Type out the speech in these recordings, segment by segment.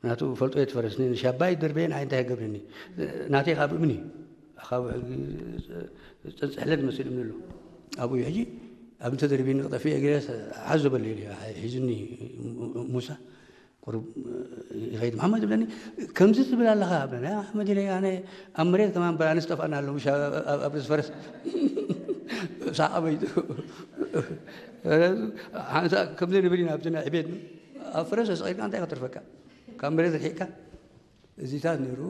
ናቱ ፈልጦ እየ ትፈረስኒ፣ ንሻባይ ደርበየን ኣይ እንታይ ገብረኒ። ናተይ ካብ እምኒ፣ ካብ ሕጂ ጽሕለት መስል እምኒ ኣሎ። ኣብኡ እዩ ሕጂ፣ ኣብ እንተደርቢኒ ክጠፍእ እየ ገለ ሓዞ በለ ኢሉ እዩ ሒዙኒ። ሙሳ ቁሩብ ይኸይድ። መሓመድ ይብለኒ፣ ከምዚ ትብል ኣለኻ ብለኒ። ኣይ መሓመድ ኢለ፣ ኣነ ኣብ መሬት ከማን በራንስ ጠፋና ኣለዉ፣ ምሽ ኣብ ርእሲ ፈረስ። ሳቕ ኣበይቱ። ሓንሳ ከምዚ ንብል ኢና ኣብቲ ናይ ዕቤት፣ ኣብ ፈረስ ኣስቒልካ እንታይ ከተርፈካ? ካብ መሬት ርሒቕካ። እዚታት ነይሩ።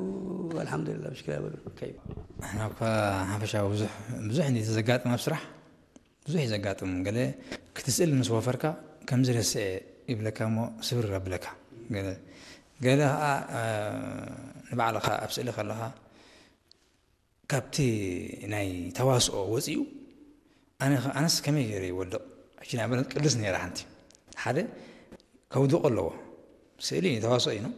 ኣልሓምዱሊላህ፣ ምሽክላ በሉ። ከይድ። ንሕና እኳ ሓፈሻዊ ብዙሕ፣ ብዙሕ እንዲ ዘጋጥም ኣብ ስራሕ፣ ብዙሕ እዩ ዘጋጥም። ገለ ክትስእል ምስ ወፈርካ ከምዚ ረስዐ ይብለካ እሞ ስብር ኣብለካ። ገለ፣ ገለ ኸዓ፣ እ፣ ንባዕልኻ ኣብ ስእሊ ከለኻ ካብቲ ናይ ተዋስኦ ወፂኡ፣ ኣነ ኸ-፣ ኣነስ ከመይ ገይረ ይወድቕ? ሕጂ ንኣብነት ቅድስ ነይራ ሓንቲ። ሓደ ከውድቆ ኣለዎ። ስእሊ ተዋስኦ እዩ፣ ነው?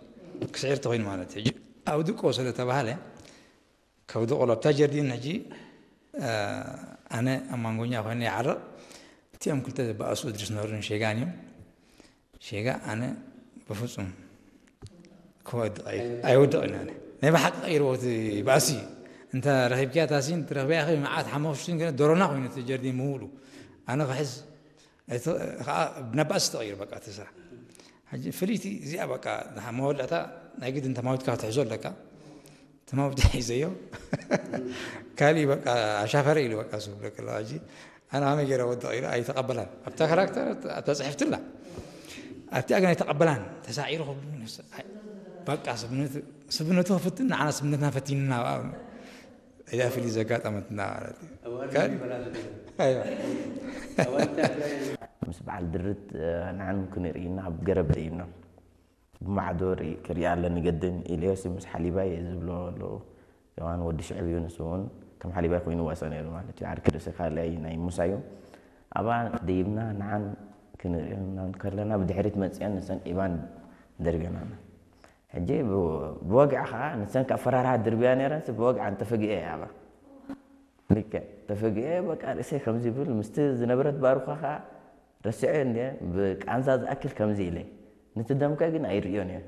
ክስዕር ተኾይኑ ማለት እዩ። ሕጂ ኣውድቆ ስለ ተባሃለ፣ ከውድቆ ኣሎ። ኣብታ ጀርዲን ሕጂ፣ እ፣ ኣነ ኣብ ማንጎኛ ኮይነ ይዓርቕ። እቲኦም ክልተ ዝበኣሱ እድሪስ ኖርን ሼጋን እዮም። ሼጋ ኣነ ብፍጹም ክወድቕ ኣይ-፣ ኣይወድቕን ኣነ። ናይ ብሓቂ ቀይርዎ እቲ ባእሲ። እንተ ረኺብክያ ታሲን፣ ትረኽብያ ኢኺ መዓት ሓሙሽቲን ገለ ዶሮና ኮይኑ እቲ ጀርዲን ምውሉ። ኣነ ክሕዝ፣ እቲ ኸዓ ናብ ባእሲ ተቐይሩ በቃ እቲ ስራሕ። ሕጂ ፍልይቲ እዚኣ በቃ መወዳእታ ናይ ግድን ተማዊትካ ክትሕዞ ኣለካ። ተማዊት ሒዘዮ። ካሊእ በቃ ኣሻፈረ ኢሉ በቃ እሱ ክብለካ ኣለዋ። ሕጂ ኣነ ከመይ ገይረ ወድቕ ኢሉ ኣይተቐበላን። ኣብታ ካራክተር፣ ኣብታ ጽሕፍቲ ኣላ። ኣብቲኣ ግን ኣይተቐበላን። ተሳዒሩ ክብሉ ነፍሰ-፣ ኣይ፣ በቃ ስብነቱ፣ ስብነቱ ክፍትን ንዓና ስብነትና ፈቲንና ኣብኣ። እዚኣ ፍልይ ዘጋጠመትና ማለት እዩ። ኣዋርድ ካል-፣ ይበላል። ኣይዋ። ኣዋርድ እንታይ ምስ በዓል ድርት፣ እ፣ ንዓን ክንርኢ ኢና ኣብ ገረብ ደይብና። ብማዕዶ ርኢ-፣ ክሪኣ ኣለኒ ገድን ኢለዮስ ምስ ሓሊባይ ዝብሎ ኣለዉ። ዮሃን ወዲ ሽዕብ እዩ፣ ንሱ እውን ከም ሓሊባይ ኮይኑ ይዋሳእ ነይሩ ማለት እዩ። ዓርኪ ርእሲ ካልኣይ ናይ ሙሳ እዩ። ኣብኣ ደይብና ንዓን ክንርኢ ከለና ብድሕሪት መጺኣን ንሰን ኢባን ደርብየናና። ሕጂ ብ-፣ ብወግዒ ኸዓ ንሰን ካብ ፈራርሃ ድርብያ ነይረን፣ ብወግዒ ኣንተ ፈጊኤ እየ ኣብኣ። ልክዕ ተፈጊኤ በቃ ርእሰይ ከምዚ ይብል፣ ምስቲ ዝነበረት ባሩኻ ኸዓ ረሲዐዮ እንድየ፣ ብቃንዛ ዝኣክል ከምዚ ኢለ። ነቲ ደምከ ግን ኣይርእዮን እየ።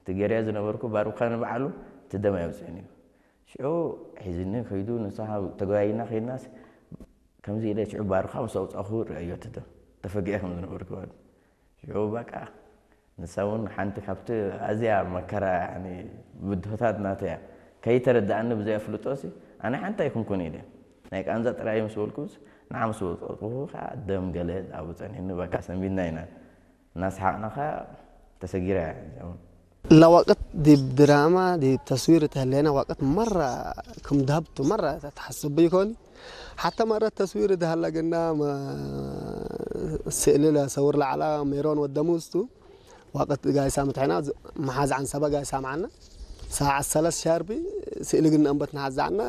እቲ ገይረዮ ዝነበርኩ ባሩኻ ንባዕሉ እቲ ደም ኣየውፅእን እዩ። ሽዑ ሒዝኒ ከይዱ፣ ንሳ ተጓይና ከይድናስ ከምዚ ኢለ ሽዑ ባሩኻ ምስ ኣውፃእኹ ርእዮ እቲ ደም። ተፈጊኤ ከም ዝነበርኩ ማለት። ሽዑ በቃ ንሳ እውን ሓንቲ ካብቲ ኣዝያ መከራ፣ ያኒ ብድሆታት ናተይ እያ። ከይተረድኣኒ ብዘይ ኣፍልጦ ሲ፣ ኣነ ሓንቲ ኣይኩንኩን ኢለ። ናይ ቃንዛ ጥራይ ምስ በልኩስ፣ ንዓ ምስ ወጸጥኩ ከዓ ደም ገለ ኣብኡ ጸኒሕኒ፣ በቃ ሰንቢድና ኢና። እናሰሓቕና ከዓ ተሰጊራ እያ እዚኣ እውን። لا وقت دي بدراما دي بتصوير تهلينا وقت مرة كم ذهبت مرة تحسب بيكوني. حتى مرة تصوير ده هلا قلنا ما سئل له صور له على ميرون والدموس تو. وقت جاي سامت هنا محاز عن سبا جاي سامعنا. ساعة ثلاث شاربي سئل قلنا أنبت نحاز عنا.